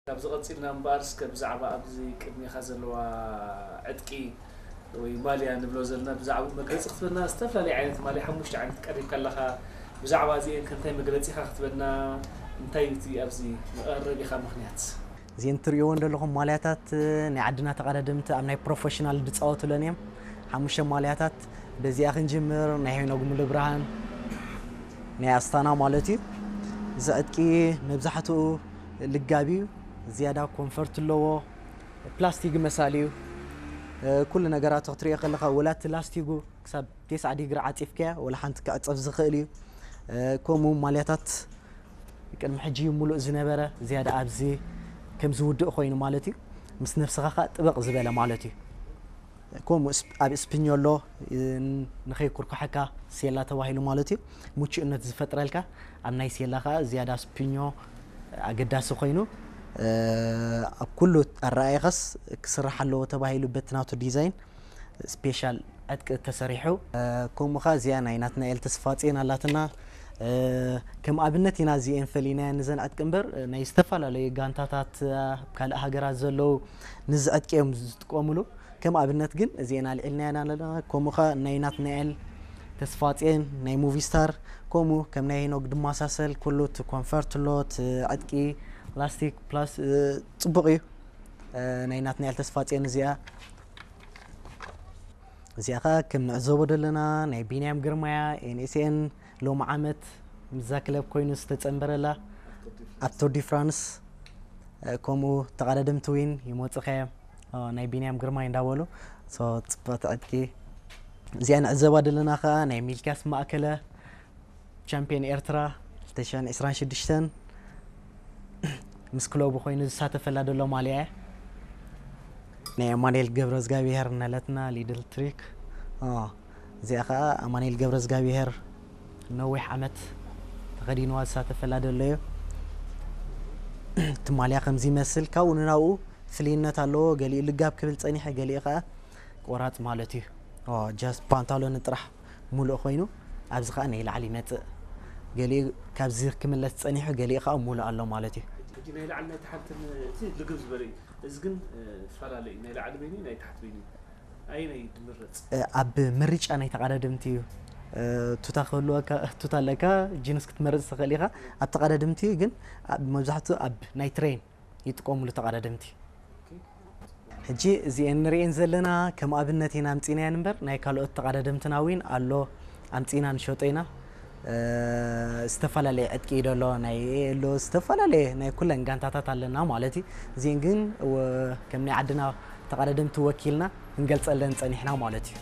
ካብዚ ቀፂልና እምበኣር እስከ ብዛዕባ ኣብዚ ቅድሜኻ ዘለዋ ዕጥቂ ወይ ማልያ ንብሎ ዘለና ብዛዕባ መግለፂ ክትበና። ዝተፈላለዩ ዓይነት ማልያ ሓሙሽተ ዓይነት ቀሪብካ ኣለኻ። ብዛዕባ እዚአን ከ እንታይ መግለፂኻ ክትበና? እንታይ እዩ እቲ ኣብዚ መቐረቢኻ ምኽንያት? እዚአን ትርእይዎ እንደለኹም ማልያታት ናይ ዓድና ተቐዳደምቲ ኣብ ናይ ፕሮፌሽናል ዝፃወቱለን እዮም። ሓሙሽተ ማልያታት። በዚኣ ክንጅምር። ናይ ሄኖግ ሙሉብርሃን ናይ ኣስታና ማለት እዩ። እዚ ዕጥቂ መብዛሕትኡ ልጋብ እዩ። ዝያዳ ኮንፈርት ኣለዎ። ፕላስቲክ መሳሊ እዩ። ኩሉ ነገራቱ ክትሪኦ ከለኻ ወላ እቲ ላስቲጉ ክሳብ ተስዓ ዲግሪ ዓፂፍካያ ወላ ሓንቲ ክዕፀፍ ዝኽእል እዩ። ከምኡ ማልያታት ቅድሚ ሕጂ ሙሉእ ዝነበረ ዝያዳ ኣብዚ ከም ዝውድእ ኮይኑ ማለት እዩ። ምስ ነብስኻ ከዓ ጥበቕ ዝበለ ማለት እዩ። ከምኡ ኣብ ስፒኞ ኣሎ። ንኸይኩርኩሐካ ሴላ ተባሂሉ ማለት እዩ። ምቹእነት ዝፈጥረልካ ኣብ ናይ ሴላ ከዓ ዝያዳ ስፒኞ ኣገዳሲ ኮይኑ ኣብ ኩሉ ኣረኣየኸስ ክስራሕ ኣለዎ ተባሂሉ በቲ ናቱ ዲዛይን ስፔሻል ዕጥቂ ተሰሪሑ። ከምኡ ኸዓ እዚኣ ናይ ናትናኤል ተስፋጽዮን ኣላትና። ከም ኣብነት ኢና እዚኤን ፈሊናየን ንዘን ዕጥቂ እምበር ናይ ዝተፈላለዩ ጋንታታት ካልእ ሃገራት ዘለዉ ንዚ ዕጥቂ እዮም ዝጥቀሙሉ። ከም ኣብነት ግን እዚኤን ኣልዒልናየን ኣለና። ከምኡ ኸዓ ናይ ናትናኤል ተስፋጽዮን ናይ ሙቪ ስታር ከምኡ ከም ናይ ሄኖግ ድማሳሰል ኩሉ እቲ ኮንፈርት ሎት ዕጥቂ ላስቲክ ፕላስ ጽቡቕ እዩ። ናይ ናትናኤል ተስፋጽዮን እዚኣ እዚኣ ኸዓ ከም ንዕዘቦ ዘለና ናይ ቢንያም ግርማያ ኤንኤስኤን ሎሚ ዓመት ምዛ ክለብ ኮይኑ ዝተጸንበረላ ኣብ ቱር ዲ ፍራንስ ከምኡ ተቐዳደምቲ ዊን ይመፁኸ ናይ ቢንያም ግርማይ እንዳበሉ ጽቡቅ ዕጥቂ እዚኣ ንዕዘባ ዘለና ከዓ ናይ ሚልኪያስ ማእከለ ቻምፒዮን ኤርትራ ክልተ ሽሕን ዕስራን ሽዱሽተን ምስ ክለቡ ኮይኑ ዝሳተፈላ ዘሎ ማልያ እያ። ናይ ኣማኑኤል ገብረ እግዚኣብሔር ነለትና ሊድል ትሪክ እዚኣ ከዓ ኣማኑኤል ገብረ እግዚኣብሔር ነዊሕ ዓመት ተኸዲንዋ ዝሳተፈላ ዘሎ እዩ። እቲ ማልያ ከምዚ ይመስል ካብኡ ንናብኡ ፍልይነት ኣለዎ። ገሊኡ ልጋብ ክብል ፀኒሐ ገሊኡ ከዓ ቆራፅ ማለት እዩ። ጃስት ፓንታሎን ጥራሕ ሙሉእ ኮይኑ ኣብዚ ከዓ ናይ ላዕሊ ይመፅእ። ገሊኡ ካብዚ ክምለስ ፀኒሑ ገሊኡ ከዓ ሙሉእ ኣሎ ማለት እዩ። ሕጂ ናይ ላዕሊ ናይ ታሕትን እቲ ልግብ ዝበለ እዩ። እዚ ግን ፈላለዩ ናይ ላዕሊ በይኑ ናይ ታሕቲ በይኑ ኣየናይ ድምረፅ? ኣብ ምርጫ ናይ ተቐዳደምቲ እዩ። ቱታ ክህልወካ ቱታ ኣለካ ጂንስ ክትመርፅ ትኽእል ኢኻ። ኣብ ተቐዳደምቲ ግን መብዛሕትኡ ኣብ ናይ ትሬን ይጥቀሙሉ ተቐዳደምቲ። ሕጂ እዚኤን ንርእን ዘለና ከም ኣብነት ኢና ኣምፂናየን እምበር ናይ ካልኦት ተቐዳደምትና እውን ኣሎ ኣምፂና ንሸጦ ኢና። ዝተፈላለየ ዕጥቂ እዩ ደሎ ናይ ኣሎ ዝተፈላለየ ናይ ኩለን ጋንታታት ኣለና ማለት እዩ። እዚን ግን ከም ናይ ዓድና ተቐዳደምቲ ወኪልና ክንገልፀለን ፀኒሕና ማለት እዩ።